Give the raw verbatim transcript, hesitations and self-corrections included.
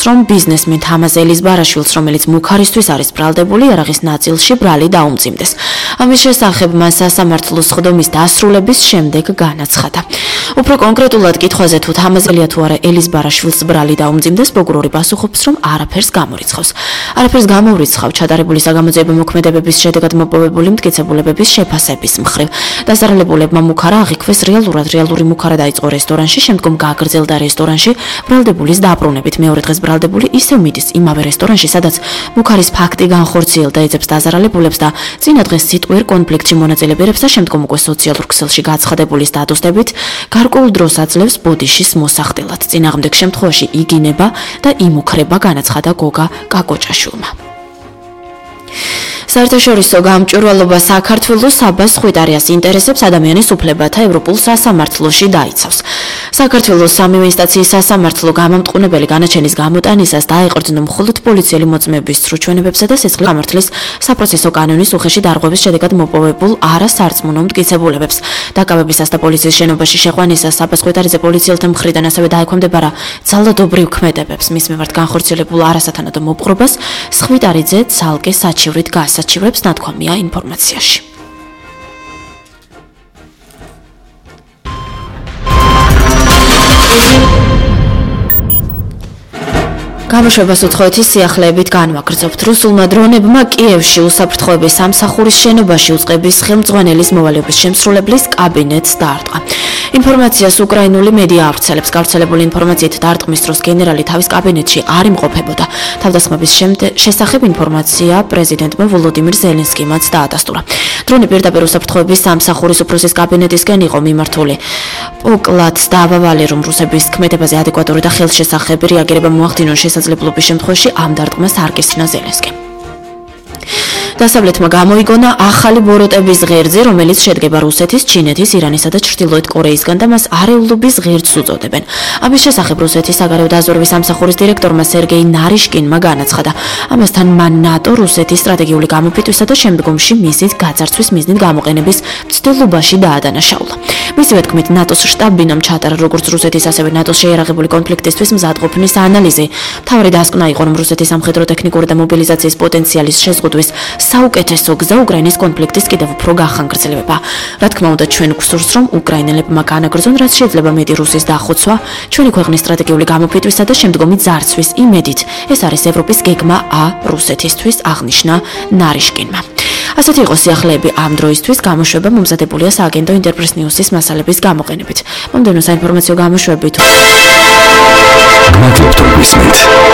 რომ ბიზნესმენ თამაზ ელიზბარაშვილს, რომელიც მუქარისთვის არის ბრალდებული, იარაღის ნაწილში ბრალი დაუმძიმდეს. ამის შესახებ მან სასამართლოს სხდომის დასრულების შემდეგ განაცხადა. უფრო კონკრეტულად კითხვაზე თუ თამაზელია თუ არა ელიზბარაშვილს ბრალი დაუმძიმდეს, პროკურორი პასუხობს, რომ არაფერს გამორიცხავს. არაფერს გამოურიცხავ ჩადარებული საგამოძიებო მოქმედებების შედეგად მოპოვებული მტკიცებულებების შეფასების მხრივ. დასარალებულებმა მუქარა აღიქვეს რეალურად, რეალური მუქარა დაიწყო რესტორანში, შემდგომ გააგრძელდა რესტორანში ბრალდებულის დაბრუნებით. მეორე დღეს ბრალდებული ისევ მიდის იმავე რესტორანში, სადაც მუქარის ფაქტი განხორციელდა, ეძებს დასარალებულებს და წინა დღეს სიტყვიერ კონფლიქტში მონაწილეებს და შემდგომ უკვე სოციალურ ქსელში გაცხადებული სტატუსებით გარკვეულ დროს აძლევს ბოდიშის მოსახდელად. წინააღმდეგ შემთხვევაში იგინება და იმუქრება, განაცხადა გოგა კაკოჭაშვილმა. საერთაშორისო გამჭვირვალობა საქართველოს საბას ხვიტარიას ინტერესებს ადამიანის უფლებათა ევროპულ სასამართლოში დაიცავს. საქართველოს სამივე ინსტანციის სასამართლო გამამტყუნებელი განაჩენის გამოტანისას დაეყრდნო მხოლოდ პოლიციელი მოწმეების სრუჩვენებებსა და სისხლის გამართლის საპროცესო კანონის უხეში დარღვევის შედეგად მოპოვებულ არასარწმუნო მტკიცებულებებს. დაკავებისას და პოლიციის შენობაში შეყვანისას საბას ხვიტარიზე პოლიციელთა მხრიდან ასევე დაექვემდებარა ძალადობრივ ქმედებებს. მის მიმართ განხორციელებულ არასათანადო მოპყრობას ხვიტარიძე ცალკე საჩივრით გასაჩივრებს, ნათქვამია ინფორმაციაში. გამოშვებას უცხოეთის სიახლეებით განვაგრძობთ. რუსულმა დრონებმა კიევში უსაფრთხოების სამსახურის შენობაში უწყების ხელმძღვანელის მოვალეობის შემსრულებლის კაბინეტს დაარტყა. ინფორმაციას უკრაინული მედია ავრცელებს. გავრცელებული ინფორმაციით დაარტყმის დროს გენერალი თავის კაბინეტში არ იმყოფებოდა. თავდასხმების შესახებ ინფორმაცია პრეზიდენტმა ვოლოდიმირ ზელენსკიმაც დაადასტურა. დრონი პირდაპირ უსაფრთხოების სამსახურის უფროსის კაბინეტისკენ იყო მიმართული. პოკლად დაავავალი, რომ რუსების ქმედებაზე ადეკვატური და ხელშესახები რეაგირება მოახდინონ შესაძლებლობის შემთხვევაში ამ დარტყმას არ კისრინა ზელენსკიმ. დასავლეთმა გამოიგონა ახალი ბოროტების ღერძი, რომელიც შედგება რუსეთის, ჩინეთის, ირანისა და ჩრდილოეთ კორეისგან და მას არეულობის ღერძს უწოდებენ. ამის შესახებ რუსეთის საგარეო დაზვერვის სამსახურის დირექტორმა სერგეი ნარიშკინმა განაცხადა. ამასთან მან ნატო რუსეთის სტრატეგიული გამოფიტვისა და შემდგომში მისის გაძარცვის მიზნით გამოყენების მცდელობაში დაადანაშაულა. მისივე თქმით, ნატოს შტაბ-ბინამ ჩატარა როგორც რუსეთის, ასევე ნატოს შეიარაღებული კონფლიქტისთვის მზადყოფნის ანალიზი. მთავარი დასკვნა იყო, რომ რუსეთის სამხედრო ტექნიკური და მობილიზაციის პოტენციალის შეზღუდვის საუკეთესო გზა უკრაინის კონფლიქტის კიდევ უფრო გახანგრძლივება. რა თქმა უნდა, ჩვენ გვსურს, რომ უკრაინელებმა განაგრძონ რაც შეიძლება მეტი რუსის დახოცვა, ჩვენი ქვეყნის სტრატეგიული გამოფიტვისა და შემდგომი ძარცვის იმედით. ეს არის ევროპის გეგმა ა რუსეთისთვის, აღნიშნა ნარიშკინმა. ასეთი იყო სიახლეები ამ დროისთვის. გამოშვება მომზადებულია სააგენტო ინტერპრეს ნიუსის მასალების გამოყენებით. მომდევნო საინფორმაციო გამოშვებით გმადლობთ, რომ გვისმენთ.